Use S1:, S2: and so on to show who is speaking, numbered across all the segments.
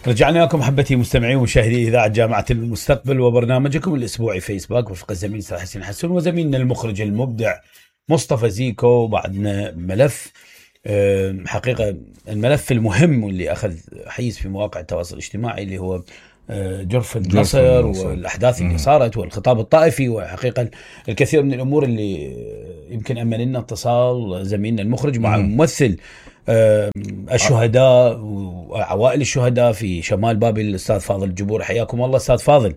S1: رجعنا لكم محبتي مستمعي ومشاهدي إذاعة جامعة المستقبل وبرنامجكم الأسبوعي فيسبوك وفق الزميل أستاذ حسين حسن وزميلنا المخرج المبدع مصطفى زيكو. بعدنا ملف حقيقة الملف المهم واللي أخذ حيز في مواقع التواصل الاجتماعي اللي هو جرف النصر والأحداث اللي صارت والخطاب الطائفي، وحقيقة الكثير من الأمور اللي يمكن أمن لنا اتصال زميلنا المخرج مع ممثل الشهداء وعوائل الشهداء في شمال بابل الأستاذ فاضل الجبور. حياكم الله أستاذ فاضل.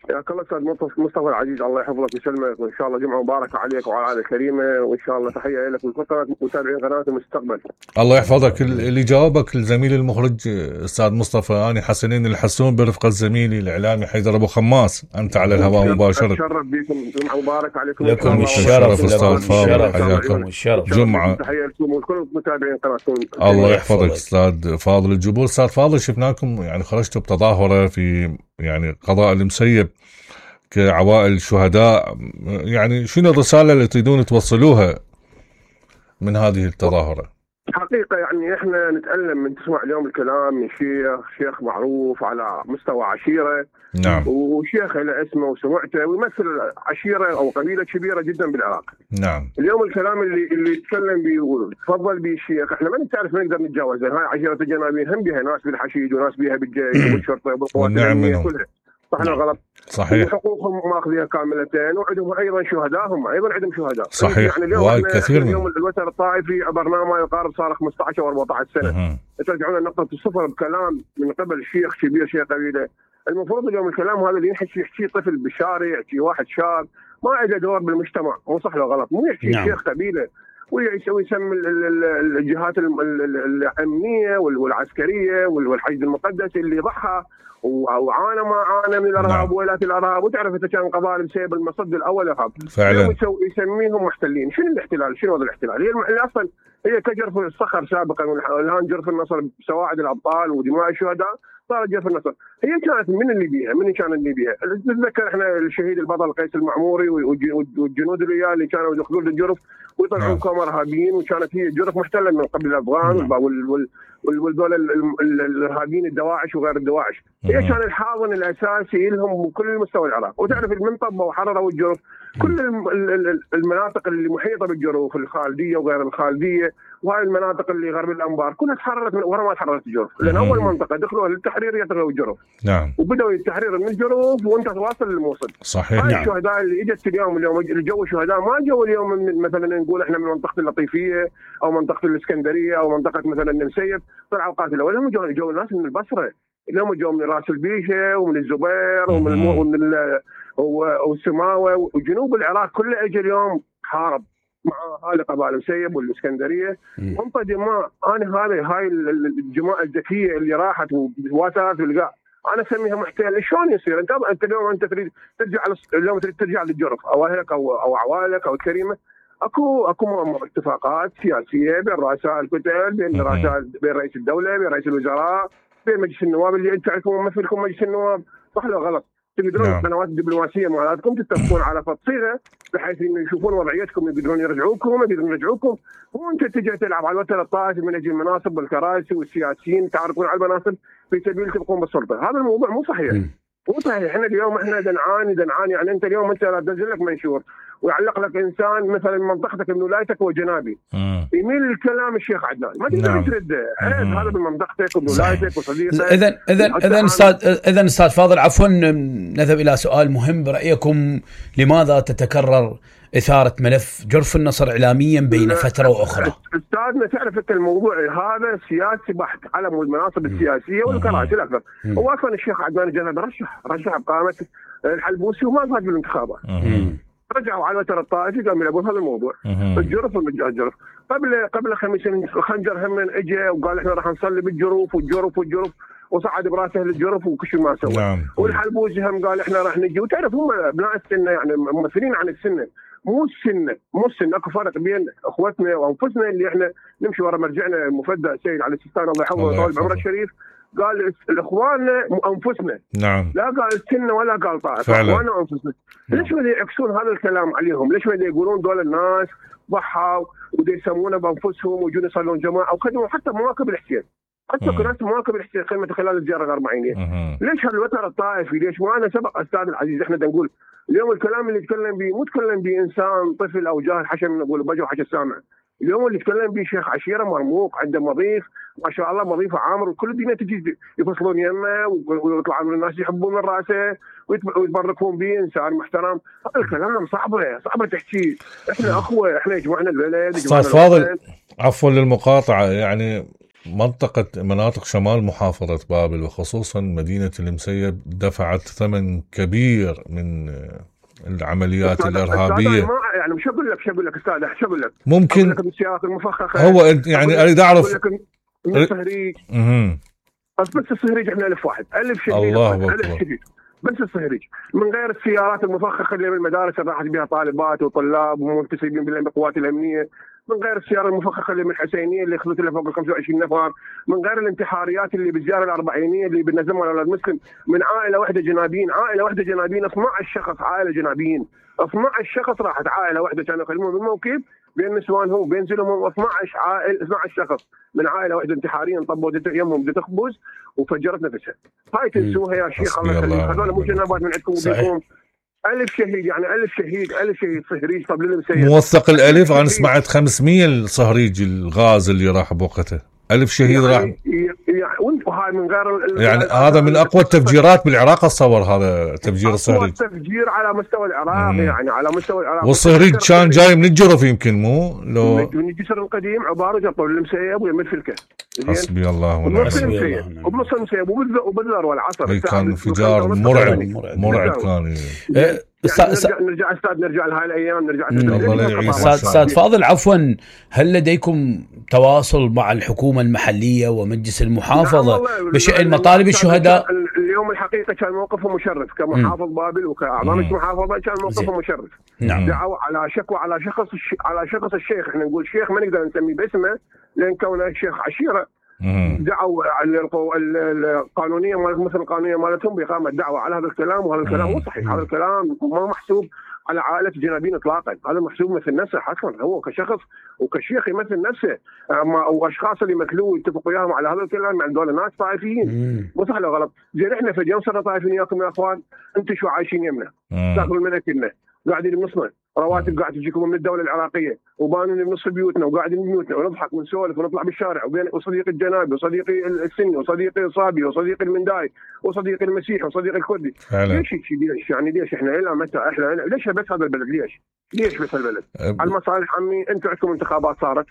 S2: حياك الله أستاذ مصطفى العزيز، الله يحفظك ويسلمك، وإن شاء الله جمعة مباركة عليك وعلى العائلة الكريمة، وإن شاء الله تحية لك ولكل متابعين قناة المستقبل.
S3: الله يحفظك. اللي جاوبك الزميل المخرج أستاذ مصطفى أنا حسنين الحسون برفقة زميلي الإعلامي حيدر أبو خماس، أنت على الهواء مباشرة.
S2: أتشرف بكم، جمعة مباركة عليكم.
S1: لكم الشرف
S3: أستاذ فاضل، حياكم
S2: الشرف.
S3: جمعة
S2: تحية لكم ولكل متابعين قناة.
S3: الله يحفظك أستاذ فاضل الجبور. أستاذ فاضل، شفناكم يعني خرجتوا بتظاهرة في يعني قضاء المسيب كعوائل الشهداء، يعني شنو الرسالة اللي تريدون توصلوها من هذه التظاهرة؟
S2: حقيقة يعني احنا نتألم من تسمع اليوم الكلام من شيخ معروف على مستوى عشيرة.
S3: نعم.
S2: وشيخ له اسمه وسمعته ويمثل عشيرة او قبيلة كبيرة جدا بالعراق.
S3: نعم.
S2: اليوم الكلام اللي يتكلم بيه وتفضل به الشيخ، احنا ما نعرف نقدر نتجاوزه. هاي عشيرة الجنابين هم بها ناس بالحشيد وناس بها بالجيش وبالشرطة وبالقوات الأمنية كلها. صح ولا غلط؟
S3: صحيح.
S2: وحقوقهم ماخذيها كاملتين، وعندهم ايضا شهداء، هم ايضا عندهم شهداء.
S3: صحيح.
S2: يعني اليوم
S3: كثير
S2: اليوم الوتر الطائفي عبرناه ما يقارب صار 15 او 14 سنه. ترجعون لنقطه الصفر بكلام من قبل شيخ كبير، شيخ قبيله. المفروض اليوم الكلام هذا اللي يحكي طفل بالشارع، يحكي واحد شاب ما عنده دور بالمجتمع، مو صح ولا غلط؟ مو يحكي شيخ قبيله ويسمي الجهات الامنيه والعسكريه والحشد المقدس اللي ضحى وعانى ما عانى من الارهاب وويلات الارهاب. وتعرف انت كان قضاء بسبب المصد الاول ارهاب
S3: فعلا.
S2: يسميهم محتلين. شنو الاحتلال؟ شنو هذا الاحتلال؟ هي اصلا هي كجرف الصخر سابقا، والان جرف النصر بسواعد الابطال ودماء الشهداء صارت جرف النصر. هي كانت من اللي بيها؟ من كان اللي بيها؟ نتذكر احنا الشهيد البطل قيس المعموري والجنود اللي اللي كانوا يدخلون للجرف ويطلعون كم ارهابيين، وكانت هي جرف محتله من قبل الافغان والدول الارهابيين الدواعش وغير الدواعش. هي كان الحاضن الاساسي لهم بكل مستوى العراق. وتعرف المنطقه وحرروا الجرف، كل المناطق اللي محيطه بالجرف، الخالديه وغير الخالديه وهاي المناطق اللي غرب الانبار كلها تحررت ورا ما تحررت الجرف، لان اول منطقه دخلوا للتحرير يطلعوا الجرف.
S3: نعم.
S2: وبداوا التحرير من الجرف وانت تواصل للموصل.
S3: صحيح.
S2: هاي الشهداء اللي اجت اليوم اللي جو شهداء ما جو اليوم من مثلا نقول احنا من منطقه اللطيفيه او منطقه الاسكندريه او منطقه مثلا المسيب طلعوا قاتلوا، ولا هم جو ناس من البصره، اليوم جو من راس البيشه ومن الزبير ومن والسماوه وجنوب العراق كله اجى اليوم حارب مع هاي قبائل المسيب والاسكندريه وانطى دماء. انا هاي الجماعه الذكيه اللي راحت وواسات والقاع انا اسميها محتل. شلون يصير؟ انت اليوم انت تريد ترجع اليوم تريد ترجع للجرف او اهلك او عوائلك او الكريمه، اكو اتفاقات سياسيه بين رؤساء الكتل، بين رئيس الدوله، بين رئيس الوزراء، بين مجلس النواب اللي انت تعرفون ممثلكم مجلس النواب، صح ولا غلط؟ تقدرون القنوات الدبلوماسيه مالتكم تتفقون على صيغه بحيث انه يشوفون وضعيتكم، يقدرون يرجعوكم، وانت تجي تلعب على الوتر الطائفي من اجل المناصب والكراسي والسياسيين تعرفون على المناصب في سبيل تبقون بالسلطه. هذا الموضوع مو صحيح. مو صحيح. احنا اليوم احنا دنعاني يعني انت اليوم انت لا تنزل لك منشور ويعلق لك انسان مثلا منطقتك من ولايتك وجنابي يميل الكلام الشيخ عدنان ما تقدر ترده. هذا بمنطقتك وولايتك وصديقك.
S1: اذا استاذ فاضل عفوا نذهب الى سؤال مهم برايكم. لماذا تتكرر إثارة ملف جرف النصر إعلاميا بين فترة وأخرى؟
S2: أستاذنا تعرف أنت الموضوع هذا سياسي بحت على المناصب السياسية والكراسي الأكثر. هو أصلا الشيخ عدنان الجنابي رشح بقامة الحلبوسي وما فاز بالانتخابات. رجعوا على الوتر الطائفي قاموا يلعبون هذا الموضوع. الجرف والجرف قبل 5 سنين الخنجر هم اجى وقال احنا راح نصلي بالجرف والجرف وصعد براسه للجرف وكل ما سوى. والحلبوسي هم قال احنا راح نجي. وتعرف هم ابناء السنه يعني ممثلين عن السنه، مو السنه اكو فرق بين اخوتنا وانفسنا اللي احنا نمشي ورا مرجعنا المفدى السيد علي السيستاني الله يحفظه ويطول بعمره الشريف. قال الاخوان انفسنا.
S3: نعم.
S2: لا قال السنه ولا قال طائفه، اخواننا وانفسنا. ليش ما يعكسون هذا الكلام عليهم؟ ليش ما يقولون دول الناس ضحوا ودي يسمونه بانفسهم ويجون يصلون جماعه وخدموا حتى مواكب الحسين؟ حتى ناس مواكب الخدمه خلال الزياره الاربعينيه. ليش هالوتر الطائفي؟ ليش؟ وانا سبق استاذ العزيز احنا نقول اليوم الكلام اللي يتكلم به مو تكلم به انسان طفل او جاهل حشم نقول بجو حشا سامع. اليوم اللي يتكلم به شيخ عشيره مرموق عنده مضيف ما شاء الله مضيف عامر وكل الدنيا تجي يفصلون يمه ويطلعون من الناس يحبون من راسه ويتبركون به انسان محترم. هذا الكلام صعبه تحكي. احنا اخوه احنا يجمعنا البلد.
S3: استاذ فاضل عفوا للمقاطعه يعني مناطق شمال محافظة بابل وخصوصا مدينة المسيب دفعت ثمن كبير من العمليات الإرهابية.
S2: يعني مش أقول لك أستاذ شو أقول لك
S3: ممكن
S2: أقول لك السياق المفخخة
S3: هو يعني أريد أعرف
S2: من الصهريج. بس الصهريج احنا 1000 واحد 1000 شهيد.
S3: الله أكبر.
S2: بس الصهريج من غير السيارات المفخخة اللي من المدارس اللي راحت بها طالبات وطلاب ومنتسبين بالقوات الأمنية، من غير السيارة المفخخة اللي من الحسينية اللي اخذت لها فوق ال 25 نفر، من غير الانتحاريات اللي بالزيارة الأربعينية اللي بنزمها على المسلم من عائلة واحدة جنابين 12 شخص عائلة جنابين 12 شخص راحت عائلة واحدة كانوا يخدمون بالموكب بين نسوانهم وبين زلمهم 12 شخص من عائلة واحدة انتحارية انطبوا يمهم تخبز وفجرت نفسها. هاي تنسوها يا شيخ الله يخليك. هذول مو جنابات من عندكم وبيكم. 1000 شهيد يعني 1000 شهيد صهريج. طب للمسيب
S3: موثق الألف. أنا سمعت 500 الصهريج الغاز اللي راح بوقته 1000 شهيد راح
S2: وهاي من غير
S3: يعني هذا من أقوى التفجيرات بالعراق. أتصور هذا تفجير الصهريج
S2: تفجير على مستوى العراق يعني على مستوى العراق.
S3: والصهريج كان جاي من الجرف يمكن مو لو
S2: من الجسر القديم عبارة جطوا المسيب ويمد في الكهف.
S3: حسبي الله ونعم
S2: الوكيل. وبنص المسيب وبالذروة العصر
S3: كان انفجار مرعب كان.
S2: نرجع لهاي الايام
S1: استاذ فاضل عفوا، هل لديكم تواصل مع الحكومه المحليه ومجلس المحافظه بشأن مطالب الشهداء؟
S2: اليوم الحقيقه كان موقفه مشرف كمحافظ بابل وكاعضاء المحافظه كان موقفه مشرف. دعوا على شكوى على شخص الشيخ. احنا نقول شيخ ما نقدر نسميه باسمه لان كونه شيخ عشيره. دعوا القانونيه مثل القانونيه مالتهم باقامه دعوه على هذا الكلام، وهذا الكلام مو صحيح. هذا الكلام ما محسوب على عائله جنابين اطلاقا. هذا محسوب مثل نفسه حسن هو كشخص وكشيخ يمثل نفسه. واشخاص اللي مثلوه يتفقوا وياهم على هذا الكلام مع دول ناس طائفيين. مو صح ولا غلط؟ زين احنا في اليوم صرنا طائفيين وياكم يا اخوان. انتم شو عايشين يمنا تاكلون من اكلنا قاعدين بنصنا رواتب قاعد تجيكم من الدوله العراقيه وبانين بنص بيوتنا وقاعدين ببيوتنا ونضحك ونسولف ونطلع بالشارع وصديقي الجنابي وصديقي السني وصديقي الصابي وصديقي المنداي وصديقي المسيحي وصديقي الكردي. ليش يعني ليش احنا الى متى احنا ليش بس هذا البلد؟ ليش بس البلد؟ على المصالح عمي. انتم عندكم انتخابات صارت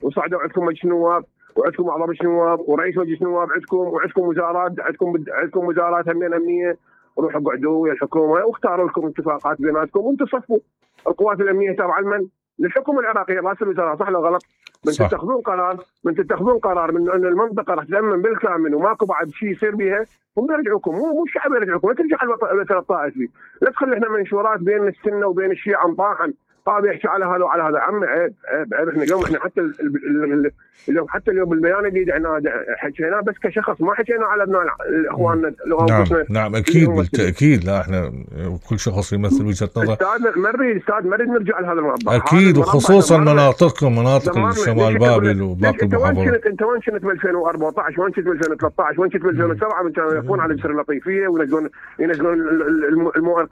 S2: وصعدوا عندكم مجلس نواب وعندكم اعضاء مجلس نواب ورئيس مجلس نواب وعندكم وزارات عندكم وزارات امنيه. روحوا قعدوا ويا الحكومه واختاروا لكم اتفاقات بيناتكم وانتم صفوا. القوات الامنيه تابعه لمن؟ للحكومه العراقيه راس الوزراء. صح ولا غلط؟ من تتخذون قرار من ان المنطقه راح تامن بالكامل وماكو بعد شيء يصير بها هم يرجعوكم. مو الشعب يرجعوكم. لا ترجع الوتر الطائفي. لا تخلي احنا منشورات بين السنه وبين الشيعه مطاحن طاب يحكي على هذا وعلى هذا. عمي عيب. احنا اليوم اليوم حتى اليوم بالبيان اللي حكيناه بس كشخص ما حكينا على ابناء اخواننا.
S3: نعم اكيد بالتاكيد. لا احنا كل شخص يمثل وجهه نظر.
S2: استاذ مريد نرجع لهذا المربع
S3: اكيد وخصوصا مناطق الشمال بابل وباقي المحافظات.
S2: انت وين كنت ب 2014 وين كنت ب 2013 وين كنت ب 2007 من كانوا يقفون على الجسر اللطيفيه وينزلون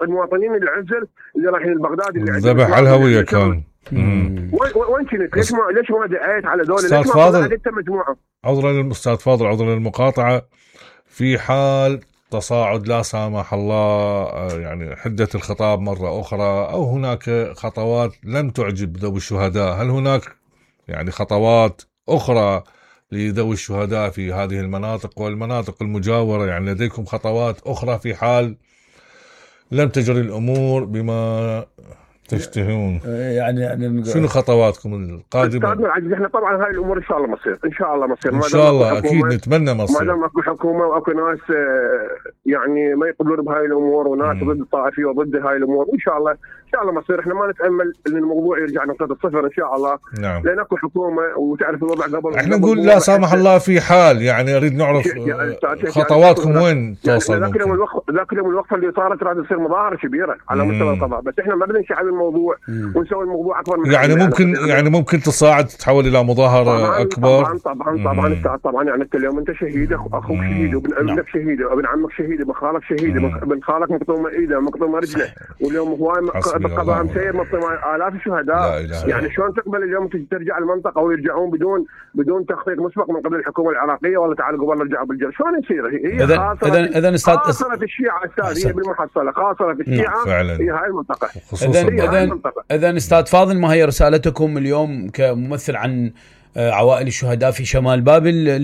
S2: المواطنين اللي عزل اللي رايحين لبغداد اللي
S3: ذبح على الهويه كان.
S2: وين كنت؟ ليش ما دعيت على دول؟
S3: استاذ فاضل عذرا للمقاطعه. في حال تصاعد لا سامح الله يعني حده الخطاب مره اخرى او هناك خطوات لم تعجب ذوي الشهداء، هل هناك يعني خطوات اخرى لذوي الشهداء في هذه المناطق والمناطق المجاورة؟ يعني لديكم خطوات أخرى في حال لم تجري الأمور بما تشتهون؟
S1: يعني
S3: شنو خطواتكم القادمة؟
S2: احنا طبعا هاي الأمور إن شاء الله مصير. إن شاء الله
S3: أكيد نتمنى مصير.
S2: ما دام اكو حكومة واكو ناس يعني ما يقبلون بهاي الأمور وناس ضد الطائفية وضد هاي الأمور إن شاء الله مصير. احنا ما نتأمل ان الموضوع يرجع نقطة الصفر ان شاء الله.
S3: نعم.
S2: لان اكو حكومة وتعرف الوضع قبل.
S3: احنا نقول لا سامح الله في حال يعني اريد نعرف خطواتكم وين توصل.
S2: ذاك اليوم الوقفة اللي صارت راح تصير مظاهرة كبيرة على مستوى القضاء. بس احنا ما بدنا شعب الموضوع ونسوي الموضوع اكبر من
S3: يعني ممكن تصاعد تتحول الى مظاهره اكبر.
S2: طبعا يعني انت اليوم انت شهيد، اخوك شهيد، ابنك شهيد، ابن عمك شهيد، ابن خالك شهيد، ابن خالك مقطومه ايده مقطومه رجله، واليوم هواي بالقضاء مسير مقطومه الاف الشهداء. يعني شلون تقبل اليوم ترجع المنطقه ويرجعون بدون تخطيط مسبق من قبل الحكومه العراقيه، ولا تعالوا قبل نرجعوا بالجيش؟ شلون يصير؟ هي خاصره الشيعه استاذ، هي بالمحصله خاصره الشيعه هي هاي المنطقه.
S1: اذا استاذ فاضل، ما هي رسالتكم اليوم كممثل عن عوائل الشهداء في شمال بابل